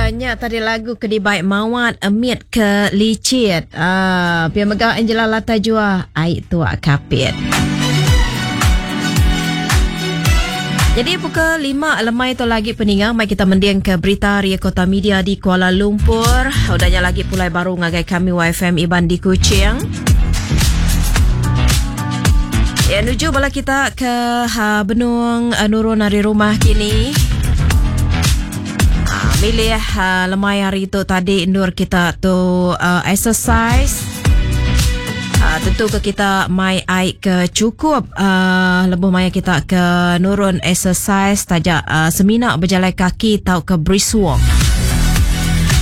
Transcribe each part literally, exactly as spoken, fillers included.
Nya tadi lagu ke dibai Mawat Emit ke Licit. Uh, pia mega Angela Lata Jua Ai Tuak Kapit. Jadi pukul lima lemai tu lagi peninga mai kita mending ke berita Ria Kota Media di Kuala Lumpur. Udahnya lagi pulai baru ngagai kami Y F M Iban di Kuching. Ya, nuju bala kita ke ha, Benung uh, Nurun dari rumah kini. Ha, milih ha, lemai hari tu tadi nur kita tu uh, exercise. Uh, tentu ke kita mai air ke cukup uh, lebuh maya kita ke nurun exercise tajak uh, semina berjalan kaki tau ke brisk walk.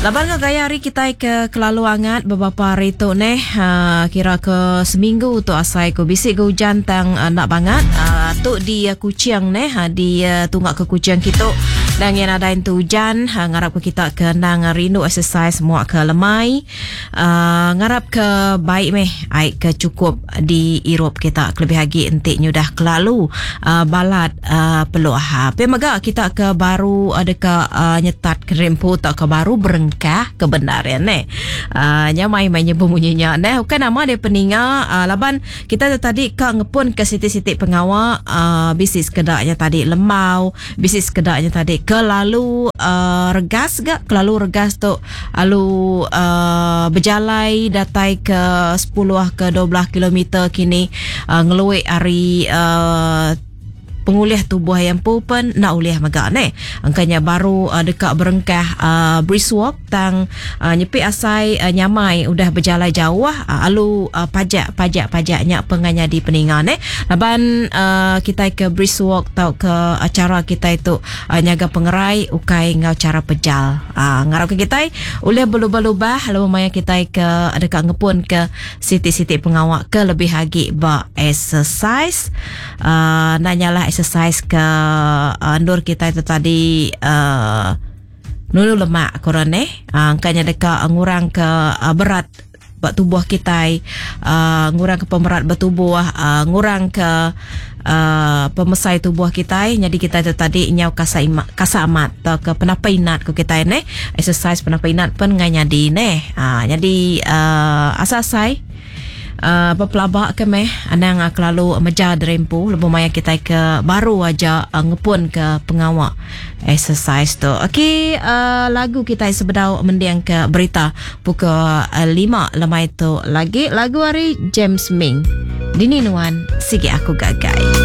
Laban ke gaya hari kita ke kelalu hangat beberapa hari tu neh uh, kira ke seminggu tu asai ku bisi ke hujan tang uh, nak banget uh, tu di uh, Kuching neh uh, di uh, tunggak ke Kuching kitu dan yang ada itu hujan uh, ngarap ke kita ke nang rindu exercise muak ke lemai uh, ngarap ke baik meh aik ke cukup di Europe kita kelebih lagi entik nyudah kelalu uh, balat uh, peluh ha. Pe mega kita ke baru ada ke uh, nyetat kerempu tak ke baru berengkah kebenaran ne. Uh, nyamai mai nyebut bunyinya ne. Bukan nama dia peninga uh, laban kita tu tadi ke ngepun ke siti-siti pengawa uh, bisnis kedaknya tadi lemau, bisnis kedaknya tadi kelalu uh, regas gak kelalu regas tu alu uh, berjalai datai ke sepuluh ke dua belas kilometer kini uh, ngeluik hari uh, pengulih tubuh yang pupen nak ulih megak ne. Angkanya baru uh, dekat berengkah uh, brisk walk tang uh, nyepi asai uh, nyamai udah berjalan jauh uh, alu uh, pajak pajak pajaknya penganya di peninga ne. Laban uh, kita ke brisk walk tau ke acara kita itu uh, nyaga pengerai ukai ngau cara pejal. Uh, ngarap ke kita ulih berlubah-lubah lalu maya kita ke dekat ngepun ke siti-siti pengawak ke lebih lagi ba exercise uh, nanyalah exercise ke uh, nur kita itu tadi uh, nunu lemak korang eh uh, angkanya dekat ngurang ke uh, berat buat tubuh kita uh, ngurang ke pemerat bertubuh uh, ngurang ke uh, pemesai tubuh kita jadi kita itu tadi nyau kasa ima, kasa amat atau ke penapa inat ke kita ne exercise penapa inat pun ngai nyadi ne uh, jadi uh, asasai Uh, berpelabak ke meh anang uh, kelalu meja derempu lebuh maya kita ke baru aja uh, ngepun ke pengawak exercise tu. Okey, uh, lagu kita sebedau mendiang ke berita pukul uh, lima lemai tu lagi lagu hari James Ming. Dini nuan sigi aku gagai.